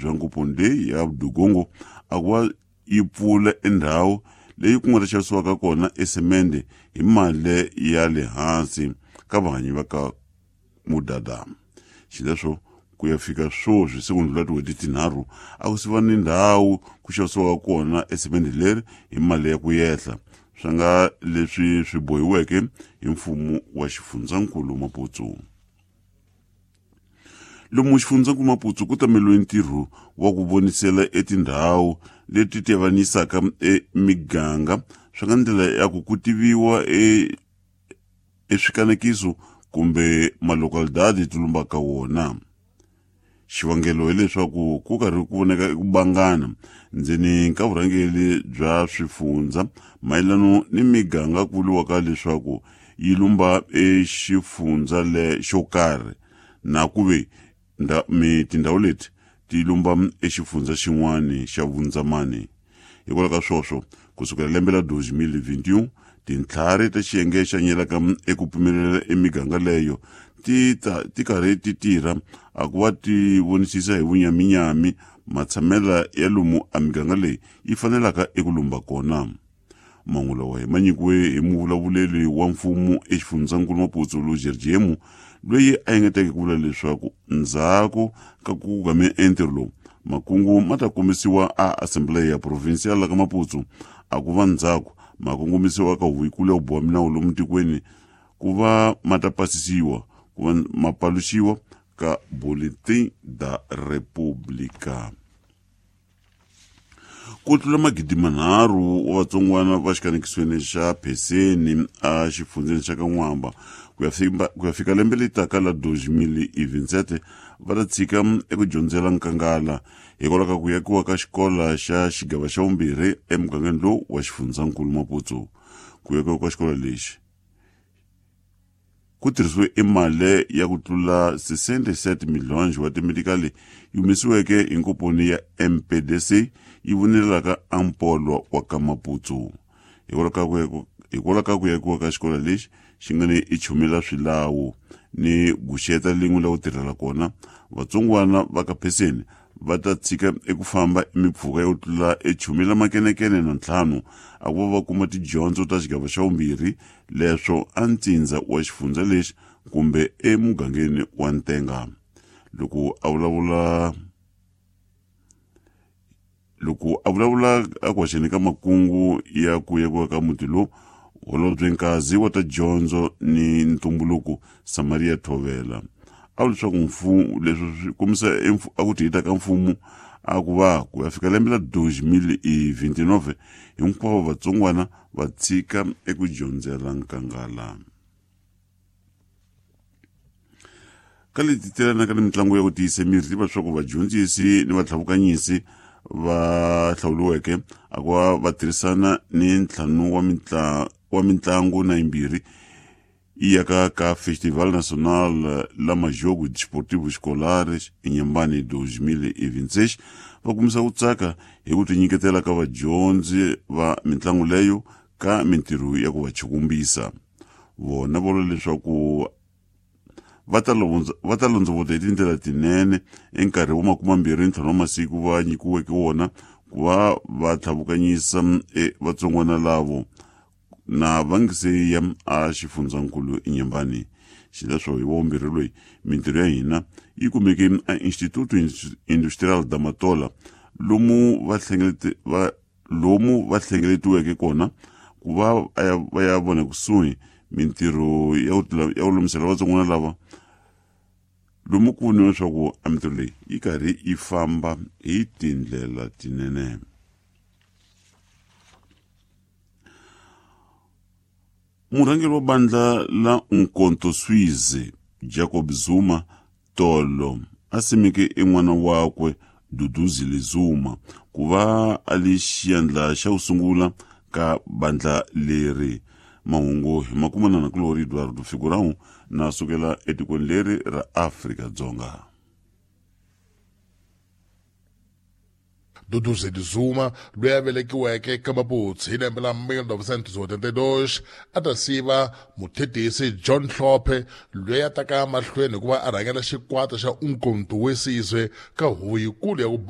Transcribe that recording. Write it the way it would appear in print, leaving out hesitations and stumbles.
bya ngoponi leyi ya Dugongo a ku va yi pfula endhawu leyi ku nga ta xavisiwaka kona esemende hi mali ya le hansi ka vahanyi va ka Mudada. Xileswo ku ya fika swoswi se ku ndlula tin'hweti tinharhu a ku siva ni ndhawu ku xavisiwaka kona esemende leri hi mali ya ku yehla, swi nga leswi swi bohiweke hi mfumo wa xifundzankulu Maputo. Lomu xifundzankulu Maputo ku tameliwe ntirho wa ku vonisela etindhawu leti tiavanisaka emiganga swi nga ndlela ya ku ku tiviwa eswikanekiso kumbe malocalidade ti lumbaka wona. Xivangelo hileswaku ku karhi ku voneka ku bangana ndzeni ka vurhangeri bya swifundza mayelano ni miganga ku vuriwaka leswaku yi lumba exifundza le xo karhi na ku ve tindhawu leti ti lumba exifundza xin'wana xa vundzamani. Hikwalaho ka swoswo kusukela lembe la 2021 tintlhari ta xiyenge xa nyelaka eku pfumelela emiganga leyo ti karhi ti tirha a ku va ti vonisisa hi vunyaminyami matshamela ya lomu a miganga leyi yi fanelaka eku lumba kona. Mahungu lawa hi ma nyikiwe hi muvulavuleri wa mfumo exifundzankulu Maputo Lujerjemu loyi a engeteke ku vula leswaku ndzhaku ka ku game entirho lowu makungu ma ta kombisiwa a Assembleia Provincial ka Maputo a ku va ndzhaku ma kongomisiwa ka huvo ya ku boha minawu lomu tikweni ku va ma ta pasisiwa ku va ma paluxiwa ka Boletim da República. Ku tlula 3,000 wa vatsongwana va xikanekisweni xa Pheseni a xifundzeni xa ka N'wamba ku ya fika lembe leri taka la 2027 va ta tshika eku dyondzela nkangala hikwalaho ka ku yakiwa ka xikolo xa xigava xa vumbirhi emugangeni lowu wa xifundzankulu Maputo. Ku yakiwa ka xikolo lexi ku tirhisiwe emali ya ku tlula 67 milhonji wa timedikali yi humesiweke hi nkomponi ya MPDC yi vonelelaka ampolo wa ka Maputo. Hikwalaho ka ku yakiwa ka xikolo lexi xi nga ni ichumela swilawu ni guxeta lin'we la ku tirhela kona, vatsongwana va ka Pheseni va ta tshika eku famba emipfhuka yo tlula echumela makenekene na ntlhanu a ku va va kuma tidyondzo ta xigava xa vumbirhi leswo a ntsindza wa xifundza lexi kumbe emugangeni wa Ntenga. Loko a vulavula a ku haxeni ka makungu ya ku yakiwa ka muti lowu, holobye Nkazi wa ta dyondzo ni ntumbuluko Samaria Thovela a vula leswaku mfumo leswi swi kombisa a ku tihita ka mfumo a ku va ku ya fika lembe la 2029 hinkwavo vatsongwana va tshika eku dyondzela nkangala. Ka leti telanaka ni mitlangu ya ku tiyisa miri tiva leswaku vadyondzisi ni vatlhavukanyisi va hlawuriweke a ku va va tirhisana ni ntlhanu wa mitlangu na yimbirhi yi yaka ka Festival Nacional la Majogo Desportivo Escolares eNyembani 2026 va kumisa ku tsaka hi ku tinyiketela ka vadyondzi va mitlangu leyo ka mintirho ya ku va chukumbisa. Vona va vula leswaku va ta londzovota hi tindlela tinene enkarhi wa 25 wa masiku va nyikiweke wona ku va va tlhavukanyisa vatsongwana lavo na va nge se ya a xifundzankulu eNyembani. Xileswo hi vumbirhi loyi mintirho ya hina yi kumeke a Instituto Industrial da Matola lomu va hlengeletiweke kona ku va va ya vona kusuhi mintirho ya ku lulamisela vatsongwana lava lomu ku voniwa leswaku a mintirho leyi yi karhi yi famba hi tindlela tinene. Murhangeri wa bandla la Umkhonto Swize Jacob Zuma tolo a simeke en'wana wakwe Duduzile Zuma ku va a li xiyandla xa ku sungula ka bandla leri. Mahungu hi makumana na Glory Eduardo Figurão na sukela etikweni leri ra Afrika-Dzonga. Duduzile Zuma loyi a velekiweke ka Maputo hi lembe la 1982 a ta siva muthetisi John Hlophe loyi a taka mahlweni hikuva a rhangela xikwata xa Umkhonto we Sizwe ka huvo yikulu ya ku